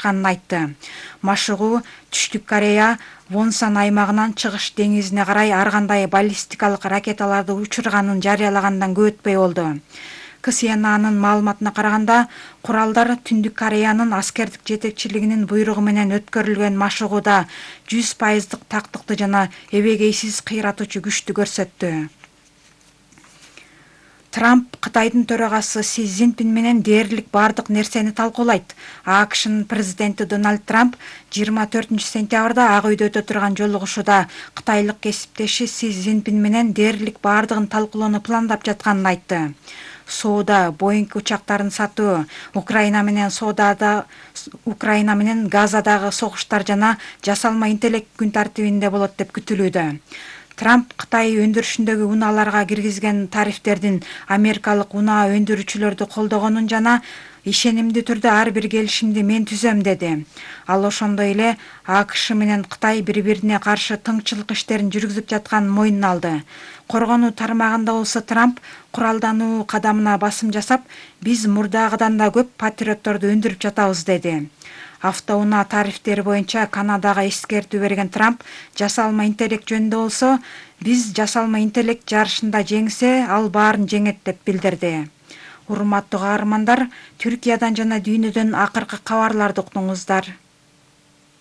башташканын айтты. Машыгуу Түштүк Корея Вонсан аймагынан Чыгыш деңизине карай ар кандай баллистикалык ракеталарды учурганын жарыялагандан көп өтпөй болду. КСНАнын маалыматына караганда, куралдар Түндүк Кореянын аскердик жетекчилигинин буйругу менен өткөрүлгөн машыгууда 100% тактыкты жана эбегейсиз кыйратуучу күчтү көрсөттү. Трамп Кытайдын төрагасы Си Цзиньпин менен дээрлик бардык нерсени талкуулайт. АКШнын президенти Дональд Трамп 24-сентябрда Ак үйдө өтө турган жолугушууда кытайлык кесиптеши Си Цзиньпин менен дээрлик бардыгын талкуулоону пландап жатканын айтты. Соода, Боинг учактарын сатуу, Украина менен Газадагы согуштар жана жасалма интеллект күн тартибинде болот деп күтүлүүдө. Трамп Кытай өндүрүшүндөгү унааларга киргизген тарифтердин америкалык унаа өндүрүүчүлөрдү колдогонун жана ишенимдүү түрдө ар бир келишимди мен түзөм деди. Ал ошондой эле АКШ менен Кытай бири-бирине каршы тыңчылык иштерин жүргүзүп жатканын мойнуна алды. Коргонуу тармагында болсо Трамп куралдануу кадамына басым жасап, биз мурдагыдан да көп патриотторду өндүрүп жатабыз деди. Автоунаа тарифтери боюнча Канадага эскертүү берген Трамп жасалма интеллект жөнүндө болсо, биз жасалма интеллект жарышында жеңсе, ал баарын жеңет деп билдирди. Урматтуу каармандар, Түркиядан жана дүйнөдөн акыркы кабарларды уктуңуздар.